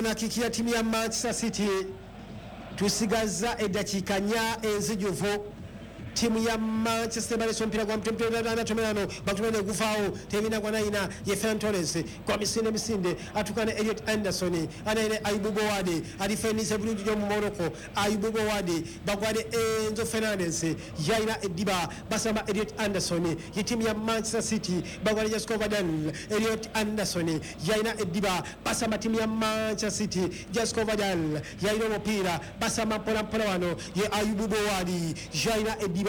Corner kick ya timu ya Manchester City. Tusigaza eddakiika 4 enzijuvu. Timu ya Manchester balese omupiira gwa mtomerano bakutumene gufaawo tebina gwa nayina ye Ferran Torres kwa misinde misinde atuka ne Elliot Anderson anaine Ayubu Bowade alifenise bulungi nnyo mu Morocco. Ayubu Bowade bagwade Enzo Fernandez yayina eddiba basamba Elliot Anderson ye timu ya Manchester City bagwade Josko Gvardiol. Elliot Anderson yayina eddiba basamba timu ya Manchester City. Josko Gvardiol yayina omupiira basamba mpola mpola wano ye Ayubu Bowade yayina eddiba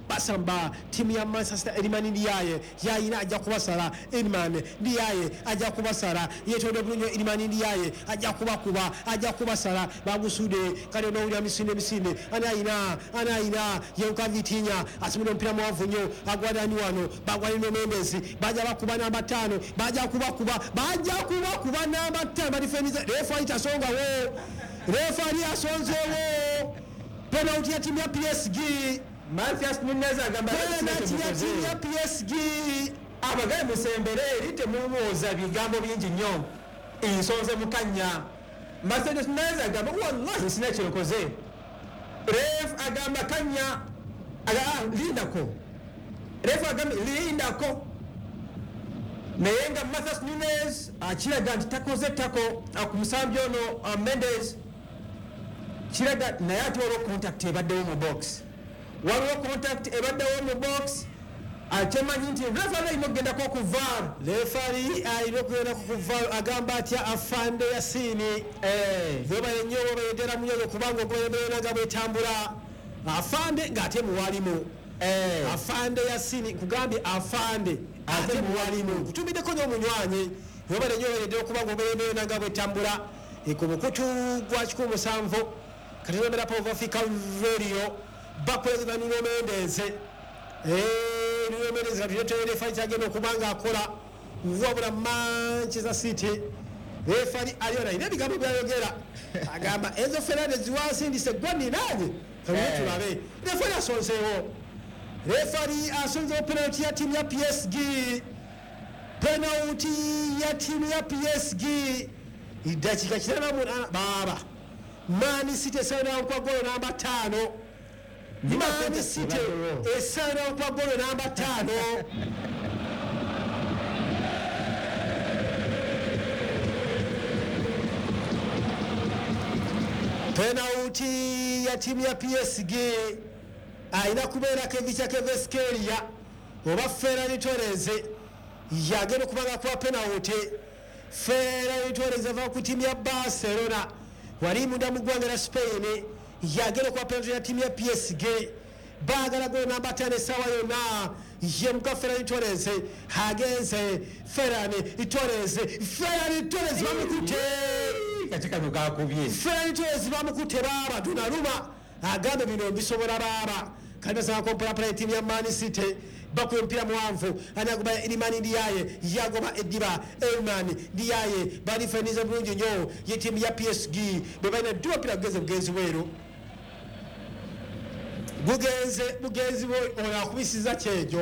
basamba timu ya Manchester. Elimani Ndiaye yayina ajja kubasala. Elimani Ndiaye ajja kubasala yetonde bulungi. Elimani Ndiaye ajja kubakuba ajja kubasala bagusude kale n'owulira misinde misinde anayina anayina yenka Vitinha asimula omupiira muwanvu nnyo agwadani wano bagwali no Mendes bajja bakuba namba 5 bajja kubakuba bajja kubakuba namba 5 badifeniza. Refa itasongawo, refa asonzewo penalty ya timu ya PSG. Mathias Nunez agamba penalty ya timu ya PSG. Abagaye musembere eri temumuwoza bigambo bingi nnyo ensonze mukanya. Mathias Nunez agamba wallahi sina kyekoze. Ref agamba kanya aga lindako. Ref agamba lindako. Naye nga Mathias Nunez akiraga nti takoze tako ku musambi ono Mendes kiraga naye ate waliwo contact ebaddewo mu box. Waliwo contact ebaddewo mu box akyemanyi nti referee alina okugendako ku VAR. Referee alina okugendako ku VAR agamba atya afande Yasini webale nnyo webale ddala munyozo kubanga ogoyembeera nga bwetambula afande ng'ate muwalimu. Afande Yasini kugambye afande ate muwalimu kutumiddeko nnyo omunywanyi webale nnyo webale ddala kubanga ogoyembeera nga bwetambula ku mukutu gwa 17 kati Power Africa Radio bakweza Nuno Mendes. Nuno Mendes katuleetera refa agenda okuba nga akola wabula Manchester City refari aliona alina ebigambo byayogera agamba Enzo Fernandez wansindise gwe ninaanye tulabe. Refari asonzeewo, refari asonzeewo penalty ya timu ya PSG, penalty ya timu ya PSG iddakiika 98 baaba Man City esaana kwa golo namba 5. Man City esaana kwa golo namba 5. Penalty ya timu ya PSG alina kubeera Kevicha Kvaratskhelia oba Ferran Torres yagenda okubanga kuba penalty. Ferran Torres ava ku timu ya Barcelona wali munda mu ggwanga lya Spain yagenda okuba penalty ya timu ya PSG. Baagala golo namba 5 essaawa yonna ye muka Ferran Torres agenze. Ferran Torres, Ferran Torres bamukutte katika mukakubye. Ferran Torres bamukutte baaba Donnarumma agambe bino mbisobola baaba. Kali basaba kompolapala ettiimu ya Man City bakuba omupiira muwanvu anagoba Elimani Ndiaye yagoba eddiba Elimani Ndiaye balifeniza bulungi nnyo ye ttiimu ya PSG bwe balina dduba omupiira gugenze bugenzi bweru bugenze bugenzi ono akubisiza kyejo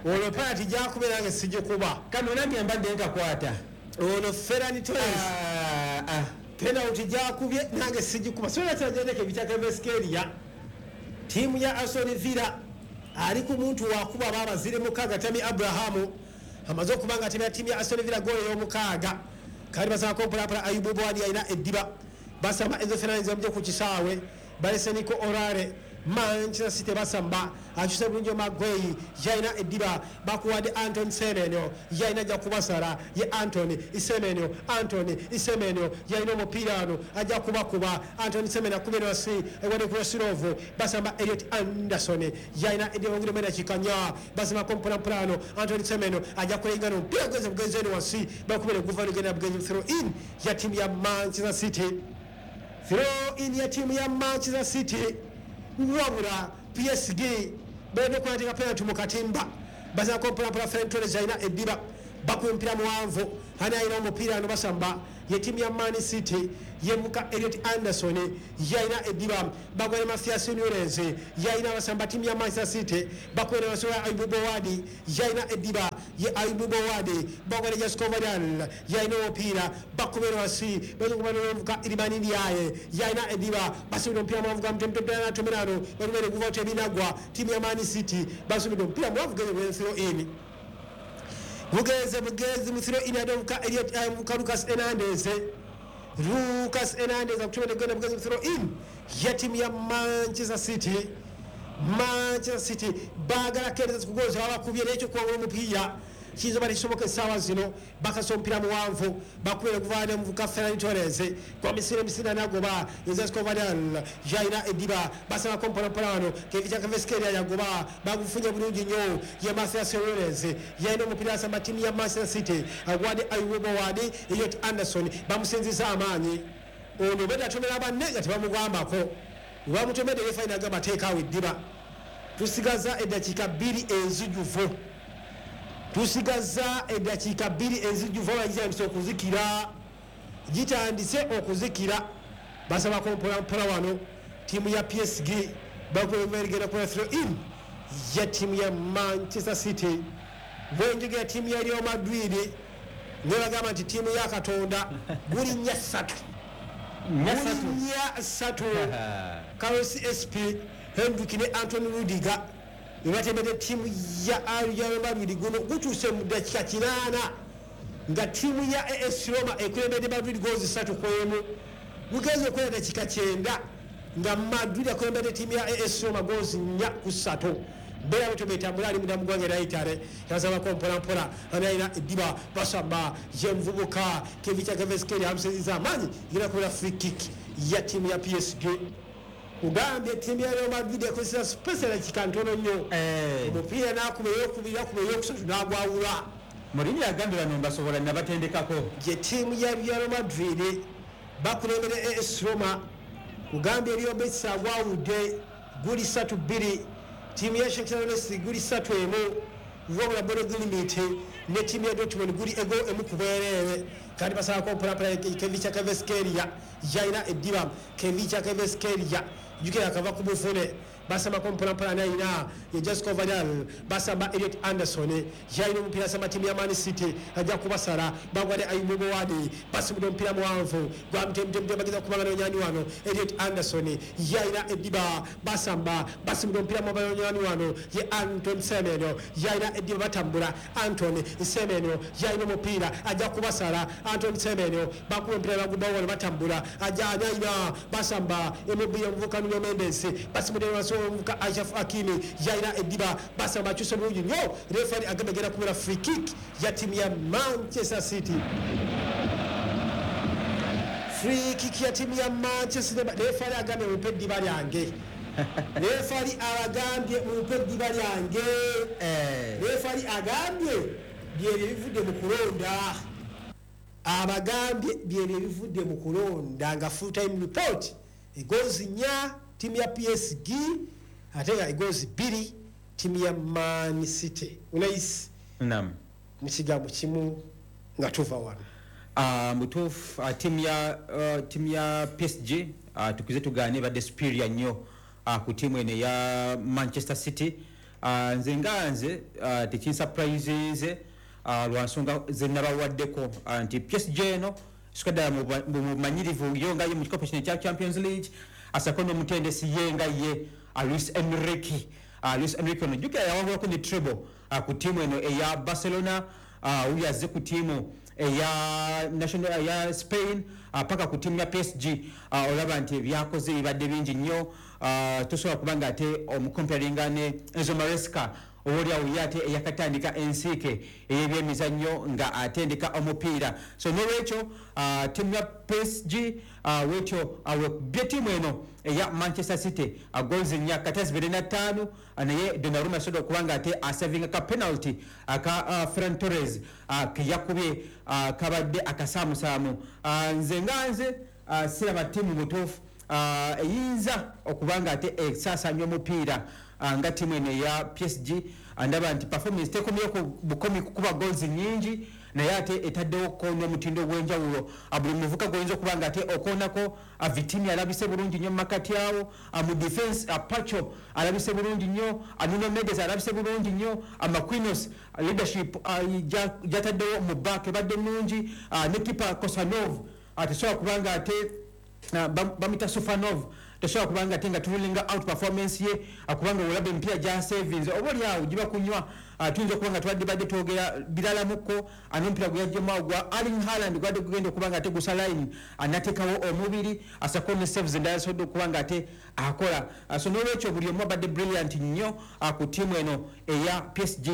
olwo penalty gyakubeera nga sigikuba kano nange mbadde nkakwata ono Ferran Torres penalty gyakubye nange sigikuba sola kyagendeko Evicha Kvaratskhelia tiimu ya Aston Villa ali ku muntu wakuba baba ziri mukaaga Tammy Abraham amaze okuba nga atemera tiimu ya Aston Villa goolo ey'omukaaga. Kali basaba kompolapala Ayubu Bowade alina eddiba basamba Enzo Fernandez amugye ku kisaawe balese Nico Orare. Manchester City basamba akyuse bulungi Maguire yalina eddiba bakuwadde Anton Semenyo yalina ajja kubasala ye Anton Semenyo, Anton Semenyo yalina omupiira wano ajja kubakuba. Anton Semenyo akubye wansi ewadde ku Rosirovu basamba Elliot Anderson yalina eddiba ngire mu dakiika 4 basamba mpolampola wano Anton Semenyo ajja kulengana omupiira gugenze bugenzi eno wansi bakubire guva nugenda bugenzi throw in ya timu ya Manchester City, throw in ya timu ya Manchester City. Wabula PSG balina okunateeka penalty mu katimba basaba kompolapala Ferran Torres alina eddiba bakuba omupiira muwanvu ani alina omupiira wano basamba Ye ttiimu ya Man City yemuka Eliot Anderson yalina eddiba, bagwere Mathias Nunes yalina abasamba ttiimu ya Manchester City, bakwere basobola Ayub Bowadi yalina eddiba, ye Ayub Bowadi bagwere Josko Gvardiol yalina omupiira, bakubera wasi bakubamuka Iliman Ndiaye yalina eddiba, basubira omupiira mwavuga mtomerano balumere guva tebinagwa. Ttiimu ya Man City basubira omupiira mwavuga throw in, bugeze bugezi mu throw in adomuka Eliot muka Lucas Hernandez, Lucas Hernandez akutumira genda bugezi mu throw in ya ttiimu ya Manchester City. Manchester City baagala kendeza kugoza babakubye n'ekyo kuwangula omupiira kiyinza oba tekisoboka essaawa zino. Bakasa omupiira muwanvu bakubira okuvaana omuvuka Ferran Torres kwa misiri emisiri nagoba Josko Gvardiol yalina eddiba, basabako mpolampola wano Khvicha Kvaratskhelia yagoba, bagufunye bulungi nnyo ye Mathias Nunes yalina omupiira asamba ttiimu ya Manchester City agwadde Ayub Bowadi. Elliot Anderson bamusinziza amaanyi ono bwedde atomera banne nga tebamugambako, bamutomedde refa agamba teekaawo eddiba. Tusigaza eddakiika 2 enzijuvu, tusigaza eddakiika 2 enzijuvu, gitandise okuzikira, gitandise okuzikira. Basabako mpolampola wano ttiimu ya PSG bakugenda kukola throw in ya ttiimu ya Manchester City. Bwenjogera ttiimu ya Real Madrid nebagamba nti ttiimu ya Katonda guli 4-3, guli 4-3. Carlos SP Hendrick ne Anthony Rudiger bebatembedde ttiimu ya Real Madrid. Guno gutuuse mu ddakiika 8 nga ttiimu ya AS Roma ekulembedde Madrid goozi 3-1. Gugenze okwera ddakiika 9 nga Madrid akulembedde ttiimu ya AS Roma goozi 4-3. Mbeera bwetyo betambula ali munda mu ggwanga erya Italy yasabako mpolampola analina eddiba, basamba ye muvubuka Khvicha Kvaratskhelia amusinziza amaanyi genda kubeera free kick ya ttiimu ya PSG. Kugambye ttiimu ya Real Madrid ekozesa space dakika ntono nnyo, omupiira n'akuba eyokubiri akuba eyokusatu n'agwawula. Mourinho agambye bano mbasobola nabatendekako. Ye ttiimu ya Real Madrid bakulembera AS Roma, kugambye Real Betis agwawudde guli 3-2, ttiimu ya Shakhtar Donetsk guli 3-1, wabula Bodo Glimt ne ttiimu ya Dortmund guli ego 1 ku bwereere. Kandi basalako mpolampola Khvicha Kvaratskhelia yalina eddiba, Khvicha Kvaratskhelia jukira akava ku bufune, basambako mpolampola nayina ye Josko Gvardiol, basamba Elliot Anderson yalina omupiira asamba ttiimu ya Man City ajja kubasala bagwadde Ayub Bowadi, basumudde omupiira muwanvu gwa mtemtemte bageza kubanga nonyani wano Elliot Anderson yalina eddiba, basamba basumudde omupiira muwanvu wano ye Anton Semenyo yalina eddiba, batambula Anton Semenyo yalina omupiira ajja kubasala Anton Semenyo bakuba omupiira bagubawo wano batambula ajja anyayina basamba emubiya omuvuka Nuno Mendes basumudde omuvuka Achraf Hakimi yalina eddiba, basamba akyuse bulungi nnyo, refari agamba egenda kubeera free kick ya ttiimu ya Manchester City. Free kick ya ttiimu ya Manchester City, refari agambye mumpe eddiba lyange, refari abagambye mumpe eddiba lyange, refari agambye byebyo ebivudde mu kulonda, abagambye byebyo ebivudde mu kulonda nga full time report egozi 4 ttiimu ya PSG ate nga egozi 2 ttiimu ya Man City. Unais Naam. Mu kigambo kimu nga tuva wano mutuufu, ttiimu ya PSG tukuze tugaane badde superior nnyo ku ttiimu eno eya Manchester City. Nze nga nze tekinsurprisinze lwa nsonga ze nabawaddeko nti PSG eno sika ddala mu bumanyirivu yo nga ye mu kikopo kino ekya Champions League, asako n'omutendesi ye nga ye Luis Enrique. Luis Enrique ono jjukira yawangulako ne treble ku ttiimu eno eya Barcelona, wuyo azze ku ttiimu eya national ya Spain paka ku ttiimu ya PSG. Olaba nti ebyakoze bibadde bingi nnyo, tosobola kuba nga ate omukomparinga ne Enzo Maresca owoolyawo ye ate eyakatandika ensiike ey'ebyemizannyo nga atendeka omupiira. So n'olwekyo ttiimu ya PSG wetyo wekubye ttiimu eno eya Manchester City goals 4 kati 25, naye Donnarumma yasobodde okuba nga ate asavinga ka penalty aka Ferran Torres ke yakubye kabadde akasaamusaamu. Nze nga nze siraba ttiimu butuufu eyinza okuba nga ate esaasaanya omupiira nga ttiimu eno eya PSG. Ndaba nti performance tekomye ku bukomi kukuba goals nnyingi, Naye ate etaddewo ko n'omutindo ogw'enjawulo. Buli muvuka gwoyinza okuba nga ate okoonako. Vitinha alabise bulungi nnyo mu makati awo. Mu defense, Pacho alabise bulungi nnyo, Nuno Mendes alabise bulungi nnyo, Marquinhos leadership gyataddewo mu back ebadde nnungi, ne keeper Kosanov tesobola kubanga ate bamuyita Sufanov, tosobola kubanga ate nga turulinga out performance ye, kubanga olaba emipiira gya savings oba oli awo giba kunywa. Tuyinza okuba nga tubadde badde twogera biralamuko. N'omupiira gwe yajjemu awo gwa Erling Haaland gwadde gugenda okuba nga ate gusa line, nateekawo omubiri, asako ne saves endala asobodde okuba nga ate akola. So n'olwekyo buli omu abadde brilliant nnyo ku ttiimu eno eya PSG.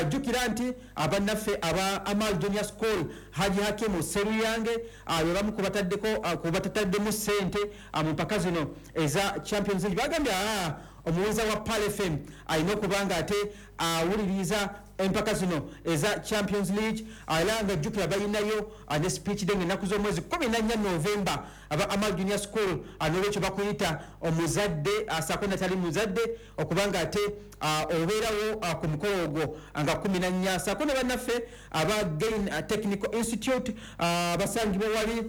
Jjukira nti abannaffe aba Amal Junior School, Haji Hakimu Seruyange, be bamu ku bataddeko ku batataddemu ssente mu mpaka zino eza Champions League. Bagambye omuwuliza wa Pearl FM alina okuba nga ate awuliriza empaka zino eza Champions League. Era nga jjukira balinayo ne speech day ennaku z'omwezi 14 November, aba Amal Junior School. N'olwekyo bakuyita omuzadde asaako natali muzadde okuba nga ate obeerawo ku mukolo ogwo nga 14, saako ne bannaffe aba Gain Technical Institute basangibwa wali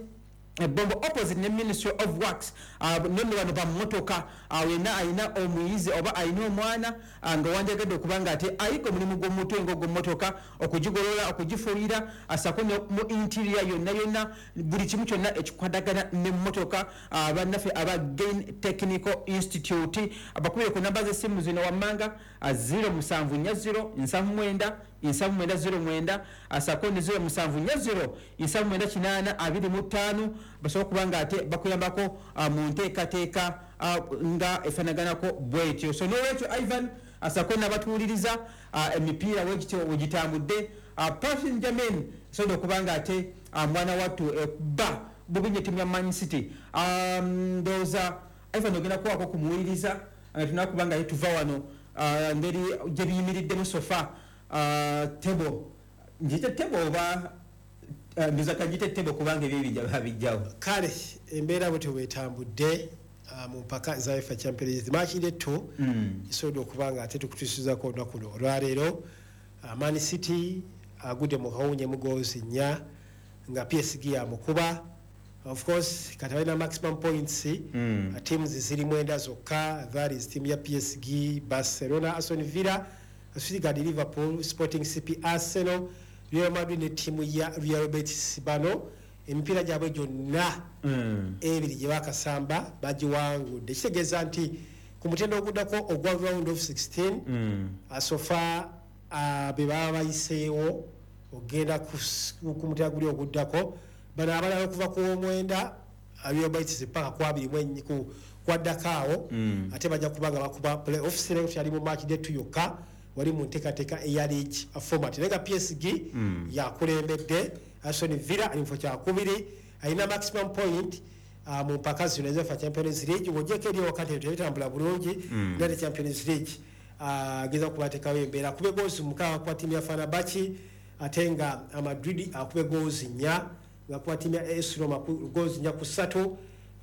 Bombo opposite ne Ministry of Works. Nonno bano bamotoka, wenna alina omuyizi oba alina omwana nga wandyagadde okuba nga ate ayiga omulimu gw'omutwe ng'ogw'emmotoka, okugigolola, okugifuuyira, asako ne mu interior yonna yonna, buli kimu kyonna ekikwatagana n'emmotoka, bannaffe aba Gain Technical Institute bakubire ku namba z'essimu zino wammanga: 0740 79 79 09, asako ne 0740 79 80 25, basobola okuba nga ate bakuyambako mu nteekateeka nga efaanaganako bwetyo. So n'olwekyo Ivan, asako n'abatuwuliriza, emipiira wegityo wegitambudde. Paris Saint Germain esobodde okuba nga ate mwana wattu ba bubi nnyo ttiimu ya Man City. Ndowooza Ivan ogenda kuwaako kumuwuliriza nga tunakuba nga tuva wano, ngeri gye biyimiriddemu so far, table, ngiyite table oba ndowooza kagiyite table kubanga ebyo bijja babijjawo. Kale embeera bwetyo bwetambudde mu mpaka za UEFA Champions League match day 2, kisobodde okuba nga ate tukutuusizako olunaku luno olwaleero. Man City agudde mu kawunye mu goals 4 nga PSG yamukuba. Of course kati balina maximum points. Teams ziri 9 zokka, that is team ya PSG, Barcelona, Aston Villa, Stuttgart, Liverpool, Sporting CP, Arsenal, Real Madrid ne ttiimu ya Real Betis. Bano emipiira gyabwe gyonna ebiri gye bakasamba bagiwangudde, kitegeeza nti ku mutendo oguddako ogwa round of 16, so far be baba bayiseewo ogenda ku mutendo guli oguddako. Bano abalala okuva ku 9 Real Betis paka ku 21 kwaddako awo, ate bajja kuba nga bakuba playoffs. Leero kyali mu match day 2 yokka wali mu nteekateeka eya league format, naye nga PSG yakulembedde. Aston Villa ali mu kifo kyakubiri, alina maximum point mu mpaka zino eza Champions League. Bw'ogyeko eri wakati tebitambula bulungi, nate Champions League ageza kubateekawo embeera, akube goals 6 kuba ttiimu ya Fenerbahce, ate nga Madrid akube goals 4 nga kuba ttiimu ya AS Roma goals 4-3.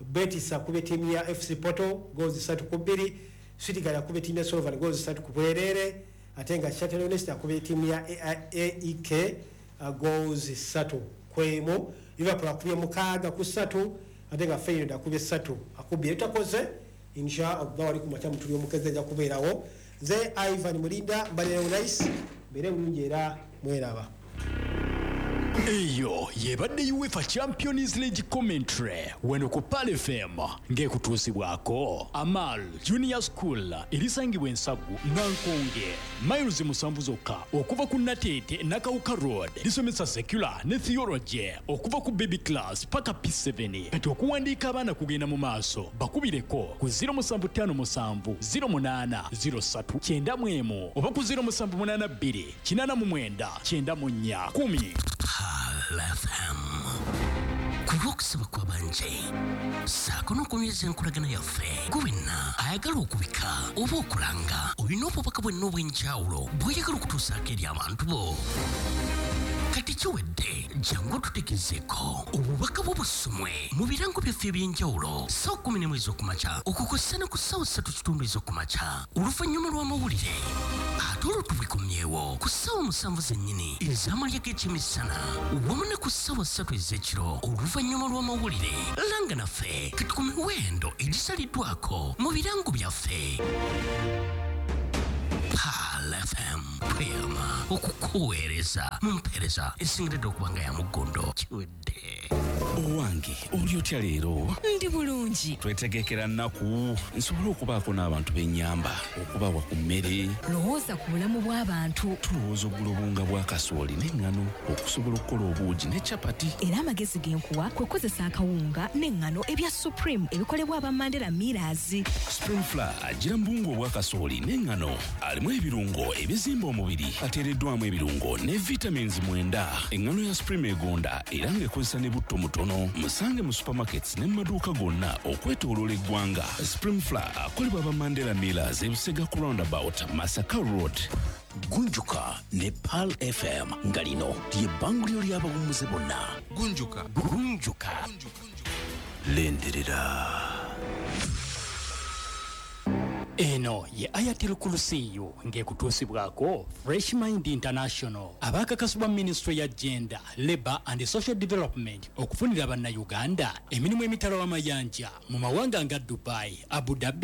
Betis akube ttiimu ya FC Porto goals 3-2. Stuttgart akube ttiimu ya Slovan goals 3 ku bwereere, ate nga Shakhtar Donetsk akube ttiimu ya AEK goals 3-1. Liverpool akubye 6-3, ate nga Feyenoord akubye 3 akubye etakoze. Insha Allah wali ku makya mutuli omukeze ajja kubeerawo. Nze Ivan Mulinda, mbalire nice, mbeere bulungi era mweraba. Eyo yebadde UEFA Champions League commentary weno ku Pearl FM, ng'ekutuusibwako Amal Junior School erisangibwa Ensagu Nankonge, miles 7 zokka okuva ku Nateete Nakawuka Road. Lisomesa secular ne theology okuva ku baby class paka P7. Kati okuwandiika abaana kugenda mu maaso, bakubireko ku 0757 08 03 91 oba ku 0782 89 94 10. Pearl FM, ku lw'okusaba kw'abanje ssaako n'okunyweza enkolagana yaffe, gwe wenna ayagala okubika oba okulanga, olina obubaka bwenna obw'enjawulo bw'oyagala okutuusaako eri abantu bo, kati kiwedde. Jangu otutegezeeko obubaka bwo busomwe mu birango byaffe eby'enjawulo ssaawa 11 ez'okumakya okukosa ne ku ssaawa 3:15 ez'okumakya oluvannyuma lw'amawulire. Ate Ate olwo tubikomyewo ku ssaawa 7 zennyini ez'amalya g'ekyemisana wamu ne ku ssaawa 3 ez'ekiro oluvannyuma lw'amawulire. Langa naffe kati ku miwendo egisaliddwako mu birango byaffe. Pearl FM tweyama okukuweereza mu mpeereza esingiridde okuba nga ya muggondo. Kiwedde. Owange, oli otya leero? Ndi bulungi. Twetegekera nnaku nsobole okubaako n'abantu b'ennyamba okubawa ku mmere. Lowooza ku bulamu bw'abantu. Tulowooza okugula obuwunga bwa kasooli n'eŋŋano okusobola okukola obuugi ne capati. Era amagezi ge nkuwa kwe kukozesa akawunga n'eŋŋano ebya Supreme ebikolebwa aba Mandela Millers. Supreme Flour agira mu buwunga obwa kasooli n'eŋŋano, alimu ebirungo ebizimba omubiri, ateereddwamu ebirungo ne vitamins 9. Eŋŋano ya Supreme egonda era ng'ekozesa ne butto mutono. Musange mu supermarkets ne mu maduuka gonna okwetooloola eggwanga. Supreme Flour akolebwa aba Mandela Millers, Ebusega ku roundabout, Masaka Road. Gunjuka ne Pearl FM, nga lino lye bbanguliro ly'abawummuze bonna. Gunjuka. Gunjuka. Lindirira. Eno ye Ayatul Kurusiyu ng'ekutuusibwako Fresh Mind International, abaakakasibwa Minisitule ya Gender, Labour and Social Development okufunira Bannayuganda emirimu emitala w'amayanja mu mawanga nga Dubai, Abu Dhabi.